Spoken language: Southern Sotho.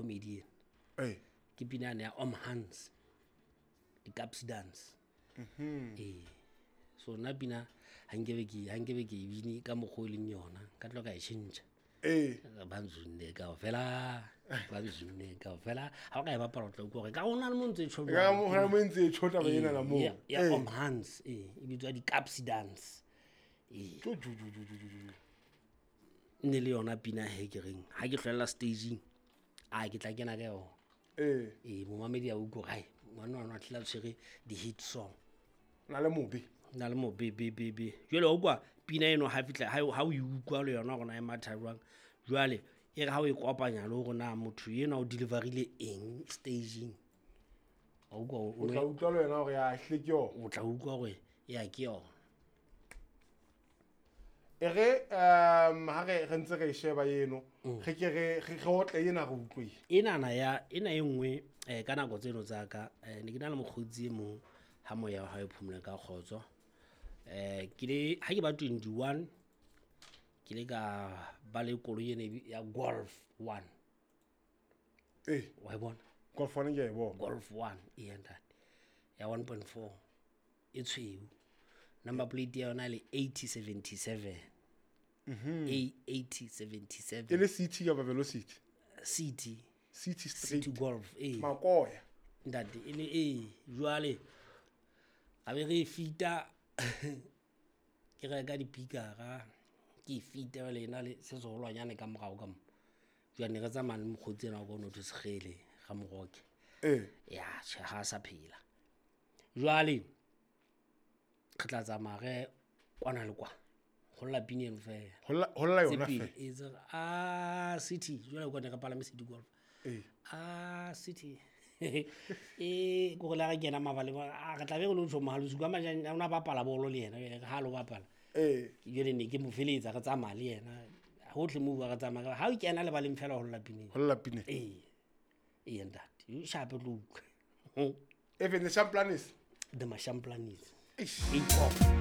Comedy ena. Ke pina yane ya Om Hans, di-Caps Dance. Ee, so nna pina ha nkebe ke e bine ka mokgwa o e leng yona, ka tlo ka e tjhentjha. Ba nzunne kaofela, ba nzunne kaofela. Ha o ka e bapala o tla utlwa hore ka ho na le mo ntse e tjho Ka mo hona mo ntse e tjho taba ena na moo. Ya Om Hans, ee, e bitswa di-Caps Dance. Ee. Jo, jo, jo, jo, jo, jo, jo. Nne le yona pina he ke reng ha ke hlwella staging, a ke tla kena ka yona. Ee, momamedi a utlwe hore hai ngwana wa tla tshwere di-hit song. Na le mobe. Na le mobe be be be. Jwale wa utlwa pina eno ha fihla ha o e utlwa le yona hore na e matha jwang. Jwale e re ha o e kopanya le hore na motho enwa o deliverile eng staging. Wa utlwa O tla utlwa le wena hore ya hle ke yona. O tla utlwa hore ya ke yona. E re ha re ntse re sheba eno, re ke re otle ena re utlwe. Enana ya ena e nngwe ka nako tseno tsa ka, ne ke na le mokgotsi e mong ha moya wa hae o phomole ka kgotso. Ke le ha ke ba 21 ke le ka ba le koloi ena ya Golf 1. Wa e bona? Golf 1 ke a e bona. Golf 1 e ntate. Ya 1.4 e tshweu. Number plate ya yona le 8077. A 8077. E le City kapa Velocity? City. City straight. City Golf, eh. Makoya. Ntate, e le e jwale ga be re fita ke reka dipikara, ke fita le ena le se seholwanyane ka morao ka mo. Jwale ne re tsamaya le mokgotsi ena wa ka o no thwe Sekgele, ga Moroke. Ya, tjhe, ha sa phela. Jwale re tla tsamaya re kwana le kwa. Ho lla pina eno fela. Ho lla yona Tse pedi, fela. e tse re, ah, City, jwale kwa ne re palame City Golf. Ah, City. Ko re la re kena mabaleng, a re tla be re lo tjho mohalo, suka majane, o na bapala bolo le yena, jwale ha lo bapala. Jwale ne ke mo feletsa re tsamaya le yena. Hohle moo re tsamaya, ha o kena lebaleng fela ho lla pineng. Ho lla pineng. Ee. Ee, ntate. Yo shape tlo utlwa. Even the Shamplanis. The Mashamplanis. Eish. Eight off.